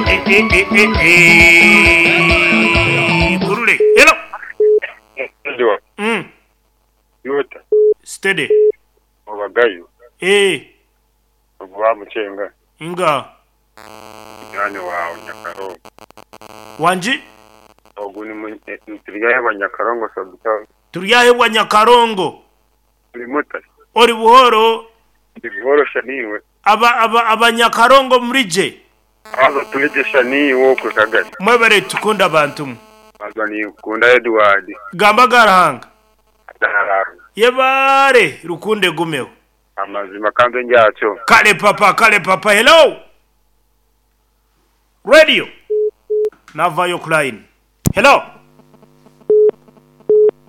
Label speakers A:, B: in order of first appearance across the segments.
A: Eh, eh, eh, eh, eh. Gurule. Hello.
B: Edward,
A: Mm.
B: Yuta,
A: Steady.
B: Obagayo,
A: Eh,
B: ogu bamucenga
A: nga
B: munywani waawe Nyakarongo.
A: wangi
B: Ogu ni mu- eh, turyahebwa Nyakarongo Sabutani.
A: turyahebwa Nyakarongo.
B: Ori muta?
A: Ori buhoro
B: Ndi buhoro sha niiwe.
A: aba aba abanyakarongo murije.
B: Haza turigye sha niiwe okwe Kagari.
A: Mwebare tukunda abantu mwe.
B: Haza ninkukunda Edward.
A: Gamba garahanga.
B: Dararanga.
A: Yebare rukunde gumeho.
B: Amazima kanze ndyakyo.
A: Kale papa, kale papa. Hello. Radio. Navayo ku line. Hello.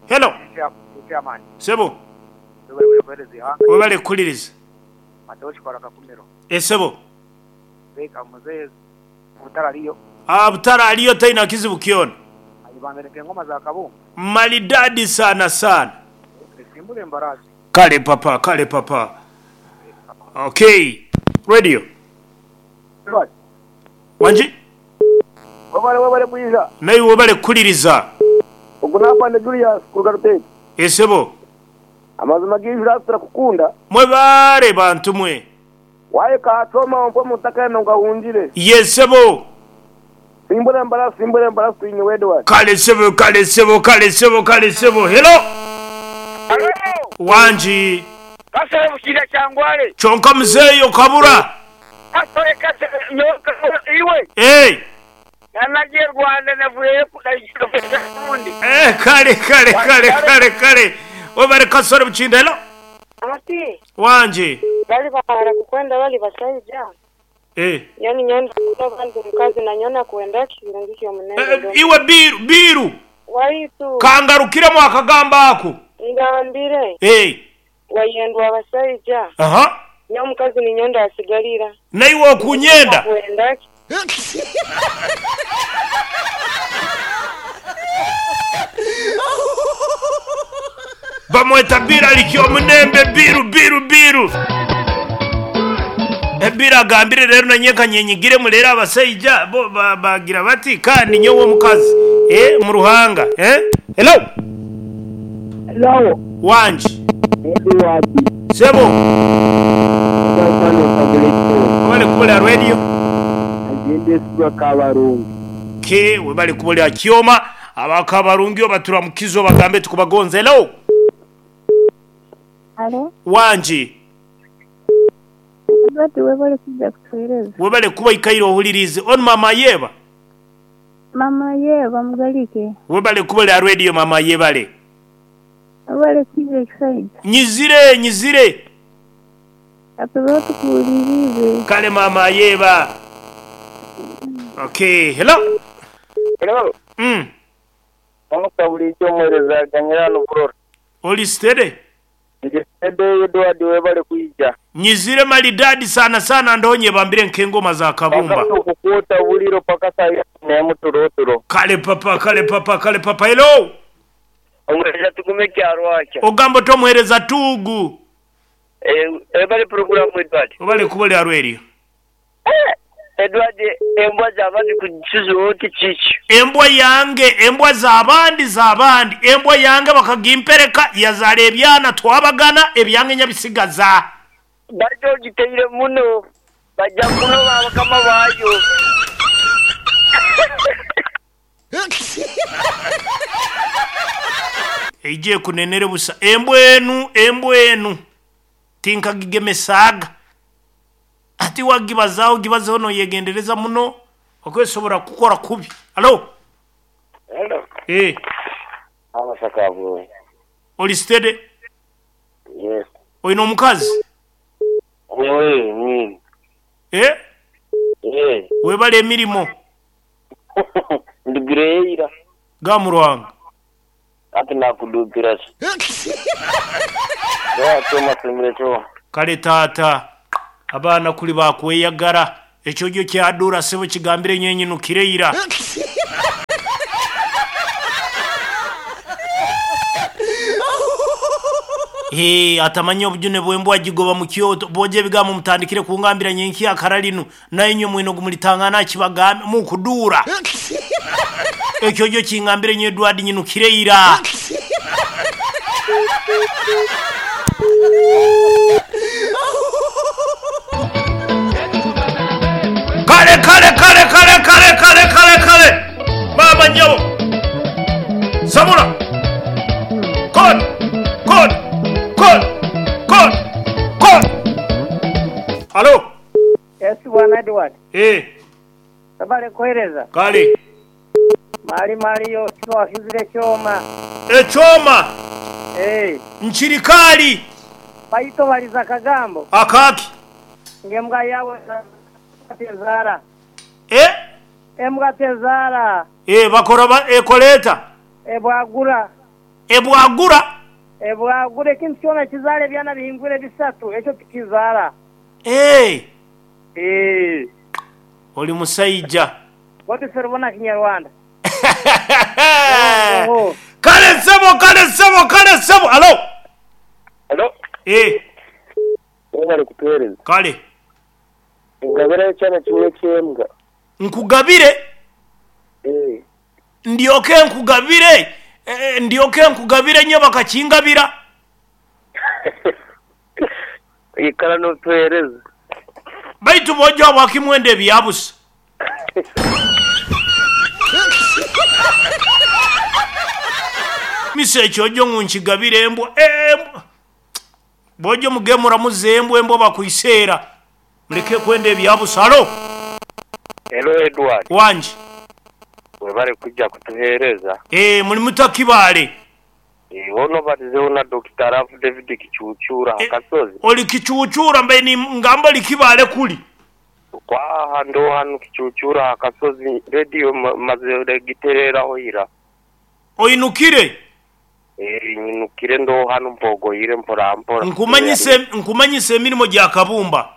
A: Hello.
C: Chairman,
A: Sebo,
C: webale kuhereza ihanga,
A: webale kukuliriza.
C: Mateo Kikora Kakumiro.
A: Esebo.
C: Beka muzehe butarariyo,
A: Ah, butara aliyo taina kizibu kiona.
C: ayibambere ngoma za kabumbu,
A: Maridadi sana sana.
C: simbule mbarazi.
A: Kale papa, kale papa. Okay. Radio. Wanji?
C: Webale webale bwiza.
A: Naye webale kukuliriza.
C: Ogu napande Julius kuruga Rutete.
A: Esebo.
C: Amazima g'ijura turakukunda.
A: Mwebale bantu mwe.
C: Waye kaatoma ompwe mutaka eno ngahungire.
A: Yesebo.
C: Simbule mbarazi, simbule mbarazi twine Edward.
A: Kale sebo, kale sebo, kale sebo, kale sebo. Hello. Wanji.
D: Kasore bukira kyangwale.
A: Kyonka muzeeyo kabura.
D: Kasore kasore nyoka iwe.
A: Hey.
D: Nanagiye Rwanda navuyeyo kundi.
A: Eh, kale kale kale kale kale. Webale kasore bukinda. Hello.
E: Ati
A: Wanji.
E: bali barakukwenda bali basaija
A: Eh.
E: yani nyonda bandi mukazi nanyona kuenda kirungi
A: Eh,
E: omunene
A: iwe biru biru
E: waitu
A: kangarukiremu akagamba ako.
E: ngambire
A: Eh.
E: wayendwa abasaija
A: Aha.
E: nyo omukazi ninyonda asigalira
A: Naiwe okunyenda.
E: kuenda
A: Bamweta biru alikyo omunembe biru biru biru. Ebiru agambire rero nanye nyenyigiremu rero abasaija bo bagira bati kandi nyowe omukazi eh mu ruhanga eh hello
C: Hello.
A: wanji
C: Edward.
A: sebo webale kubolera radio
C: Agende sibwa kabarungi.
A: ke webale kubolera kyoma abakabarungi obaturamukizo bagambe tukubagonza hello
F: Alo,
A: wanji
F: Edward webale kujja kutuweereza.
A: webale kuba ikaire ohulirize on mama yeba
F: Mama yeba mugalike.
A: webale kubolera radio mama yebale
F: Webale kujja ekisaija.
A: nyizire nyizire
F: Atubeho tukuwulirize.
A: kale mama yeba okay hello
D: Hello. Omuka bulijjo omuweereza aganyira n'oburora.
A: oli steady
D: Ngisede Edward webale kwijja.
A: nyizire maridadi sana sana ndonye bambire nk'engoma za kabumba
D: Okukwota buliro paka saa nemu tulo.
A: kale papa kale papa kale papa hello
D: Omuweereza tugume kyarwakya.
A: ogamba tomuhereza tugu
D: Ebale programu Edward.
A: obale kubolera rwerio
D: Edward embwa z'abandi kukisuza oti kiki?
A: embwa yange embwa z'abandi z'abandi embwa yange bakagimpereka yazaala ebyana twabagana ebyange nyabisigaza
D: Bajja ogiteire muno. Bajja kunoba abakama baayo.
A: eije ekunenere busa embwa enu embwa enu tinkagigemesaaga ati wagibazaaho gibazeho noyegendereza muno okwesobora kukora kubi alo
D: Hello.
A: eh
D: Amasaka avuye.
A: oli steady
D: Yes.
A: oyina omukazi
D: Wewe nini?
A: eh
D: Eh.
A: webale emirimo
D: Ndugireira.
A: gamurwanga
D: Ati nakudukira. Ya choma simire choma.
A: kale taata abaana kuli bakweyagala ekyo gyo kyadura sebo kigambire nyenyinukireira Hee, atamanya obujune bw'embwa agigoba mu kyoto. Bwoja ebigambo mutandikire kungambira nyenkya akara linu, nainywe mwine ogu mulitangana akibagambe. Mukuduura. Ekyo jo kingambire nyowe Edward nyinukire ira. Kale kale kale kale kale kale kale kale maama nyabo sabula kod kod kod kod kod Halo.
D: Yes bwana Edward.
A: Eh.
D: Webale kuwereza.
A: Kale.
D: Mali mali yo tiwahizire ekyoma.
A: Ekyoma?
D: Eeh.
A: Nkiri kaali.
D: Baitu obalize akagambo.
A: Akaaki?
D: Ngu embwa yawe tezaara.
A: Eh?
D: Embwa tezaara.
A: Eh, bakora ba, ekola eta?
D: Ebwagura.
A: Ebwagura?
D: Ebwagura ekintu kyona ekizaara ebyana bihingwire bisatu, ekyo tikizaara.
A: Eeh.
D: Eeh.
A: Oli musaija.
D: Godfrey Rubona Kinyarwanda.
A: Kale ssebo, kale ssebo, kale ssebo. Halo.
B: Halo.
A: Eh.
B: Webale kutuwereza.
A: Kale.
B: Ngabirayo ekyana kimwe eky'embwa.
A: Nkugabire?
B: Eh.
A: Ndyoke nkugabire, ndyoke nkugabire nyo bakakingabira.
B: Ikara n'otuhereza.
A: Baitu bw'oja habwaki mwenda ebya busa? Misa ekyojo ngu nkigabire embwa, embwa. Bw'oja omugemura muze embwa, embwa bakwiseera. Muleke kwenda ebya busa. Halo.
B: Hello Edward.
A: Wangi.
B: Webale kuja kutuhereza.
A: Eeh muli muta Kibaale?
B: Eeh ono obatizeho na Dokita Love David Kicuucuura aha kasozi.
A: Oli Kicuucuura mbaire ni ngamba oli Kibaale kuli.
B: Kwaha ndo hanu Kicuucuura aha kasozi radio mazire gitereraho ira.
A: Oinukire?
B: Eeh nyinukire ndo hanu mpogoire mpora mpora.
A: Nkumanyise nkumanyise emirimo gya Kabumba.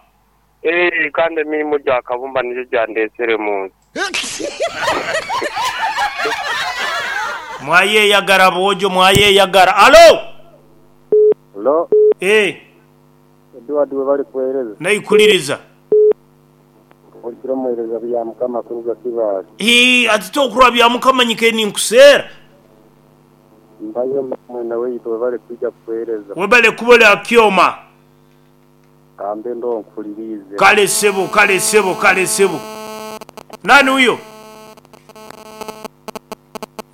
B: Eeh kandi emirimo gya Kabumba nigyo gyandetsire mu nsi.
A: Mwayeyagara boojo mwayeyagara. Alo!
C: Halo.
A: Eeh.
C: Edward webale kuwereza.
A: Naikuliriza.
C: Olikira omuwereza Byamukama kuruga Kibaale.
A: Hii ati tokurwa Byamukama nyikaire ninkuseera.
C: Mpayo mwene waitu webale kwija kutuwereza.
A: Webale kuba oli Akioma.
C: Kambe ndo nkuhuliriize.
A: Kale sebo, kale sebo, kale sebo. Nani uyo?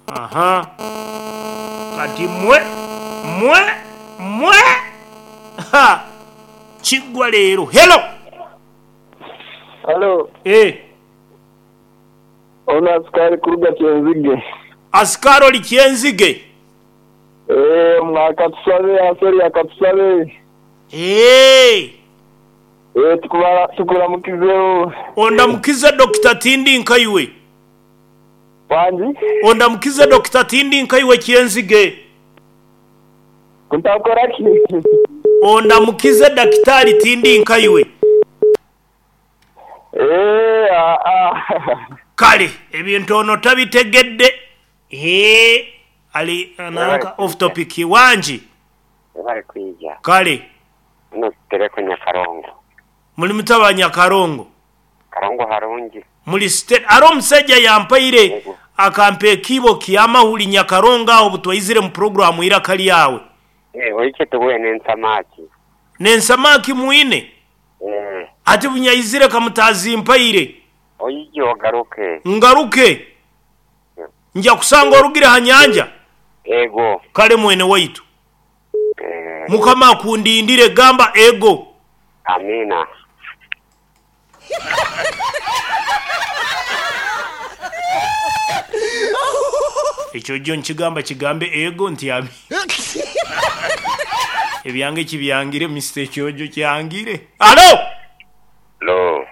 A: Aha. Kati mwe, mwe, mwe! Ha! Kigwa leero. Hello!
G: Halo.
A: Eh.
G: Ono asikari kuruga Kyenzige.
A: Asikari oli Kyenzige?
G: Eeh, mwa Katusabe, Asori ya Katusabe.
A: Eeh.
G: Eeh, tukubara tukuramukizeho.
A: Ondamukize Dokita tindi nkaiwe.
G: Wangi?
A: Ondamukize Dokita tindi nkaiwe Kyenzige.
G: Ntakora ki?
A: Ondamukize Dakitaali tindi nkaiwe.
G: Eeh, aa.
A: Kale ebintu ono tabitegedde. Hee ali nanka off topic wangi.
B: Webale kwija.
A: Kale.
B: Muno tutereku Nyakarongo.
A: Muli muta ba Nyakarongo?
B: Karongo harungi.
A: Muli steady. Are omusaija yampaire akampa ekiibo kya mahuri Nyakarongo agho butwaizire mu pulogulaamu Eiraka Lyawe.
B: Eeh oike tuwe n'ensamaki.
A: N'ensamaki mwine?
B: Eeh.
A: Ati bunyaizire kamutazimpaire.
B: Oije ogaruke.
A: Ngaruke? Nja kusanga orugire ha nyanja?
B: Ego.
A: Kale mwene waitu.
B: Eeh.
A: Mukama akundindire. Gamba ego.
B: Amiina.
A: Ekyo jo nkigamba kigambe ego nti amiina. Ebyange kibyangire Mister ekyojo kyangire. Halo!
B: Halo.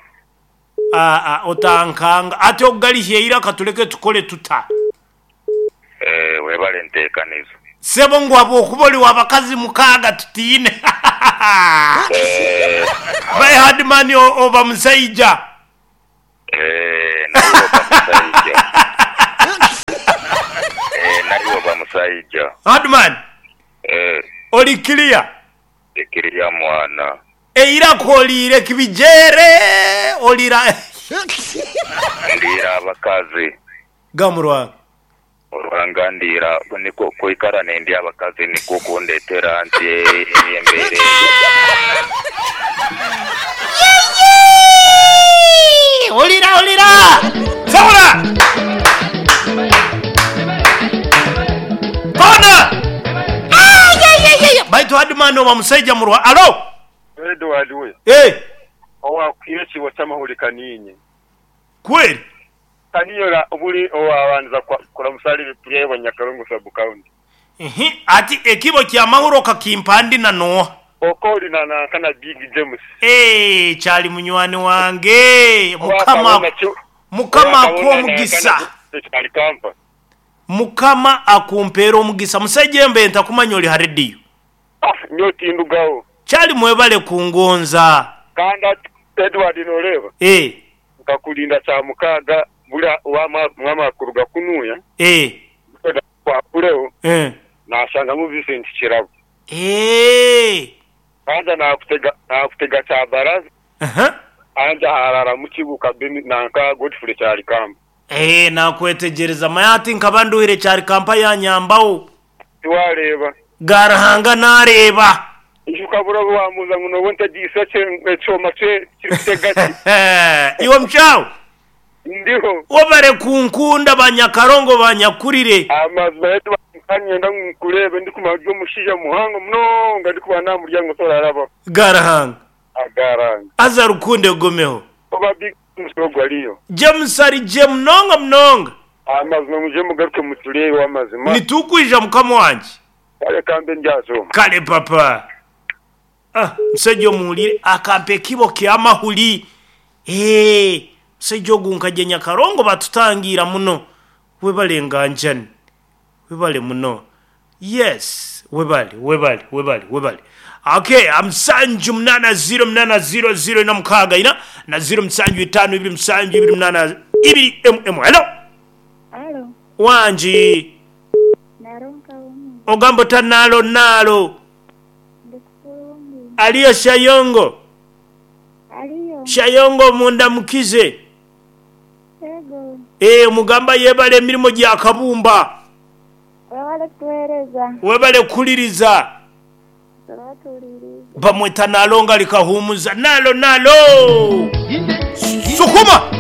A: Aa, otankanga. Ati okugalihya eiraka tuleke tukole tuta?
B: Eeh webale entekaniza.
A: Sebo ngu habwokuba oli wa bakazi mukaaga tutiine.
B: Eeh.
A: By hard man oba musaija.
B: Eeh naiwe oba musaija. Eeh naiwe oba musaija.
A: Hard man.
B: Eeh.
A: Oli clear?
H: Ndi clear mwana.
A: Eiraka oliire kibijeere olira.
H: Ndiira abakazi.
A: Gamurwanga.
H: Olwanga ndiira nikwo kwikara nendya abakazi nikwo kundetera nti embeera eyo.
A: Yeyee! Olira olira! Sawula! Kona! Ayayayaya! Baitu Hardman oba musaija murwa. Alo!
C: Edward we,
A: Eh,
C: owakuhaire ekiibo ky'amahuri ka niinye.
A: kweli.
C: Kaniyola buri owabanza kuramusa ahari Puryebwa Nyakarongo Sub County.
A: Ihi, ati ekibo kya mahuri okakimpa ndi na nooha?
C: Oko ori na nanka na Big James.
A: Eeh, kyali munywani wange. Mukama, Mukama akuhe omugisa. Mukama akumpeere omugisa. Musaija embe ntakumanya ori ha rediyo.
C: Ah, nyowe tindugaho.
A: Kyali mwebale kungonza.
C: Kandi ati, Edward noreeba?
A: Eeh.
C: Nkakurinda Kyamukaaga buri wamara kuruga kunuya.
A: Eeh.
C: Kwakureho.
A: Eeh.
C: Nashangamu Vincent Kirabo.
A: Eeh.
C: Anja nakutega nakutega Kyabaraza.
A: Aha.
C: Anja hararamu Kibuuka Benny nanka Godfrey Kyarikamba.
A: Eeh nakwetegyereza. Manya hati nkaba nduhire Kyarikampa yanyambaho.
C: Tiwareeba.
A: Ga Ruhanga nareeba.
C: Ijuka buri obu wamubuuza ngu nooba ontegyeise ekyoma kirikutega ki?
A: Iwe mushaho.
C: Ndiho.
A: Webare kunkunda banyakarongo banyakurire.
C: Amazima Edward nkaba niinyenda ngu nkureebe ndikumanya ori omushaija muhango munonga ndikuba naamuryango torarabaho.
A: Ga Ruhanga.
C: Aga Ruhanga.
A: Haza rukundo egumeho.
C: Oba Big James ogwo ariyo?
A: James ari gye munonga munonga.
C: Amazima mwije mugaruke mutureebe amazima.
A: Nitukwija mukama wangye.
C: Kale kambe ndyaza omwo.
A: Kale papa. Ah omushaija omuhuriire akampa ekibo kyamahuri eeh omushaija ogu nkagye Nyakarongo batutangiira muno webale nganjani webale muno yes webale webale webale webale okay musanju munana ziro munana ziro ziro ina mukaaga ina na ziro musanju itano ibiri musanju ibiri munana ibiri emu emu hello
F: Alo,
A: wangi
F: naro nkawumwe.
A: Ogamba ota naalo naalo?
F: Ndi kurungi.
A: Aliyo Shayongo?
F: Aliyo.
A: Shayongo mundamukize.
F: Yego.
A: Eeh mugamba yebale emirimo gya kabumba.
F: Webale kutuhereza.
A: Webale kuhuliriza.
F: Tuba tuhuliriize.
A: Bamweta Nalongo ali Kahumuza. Nalo nalo! Sukuma!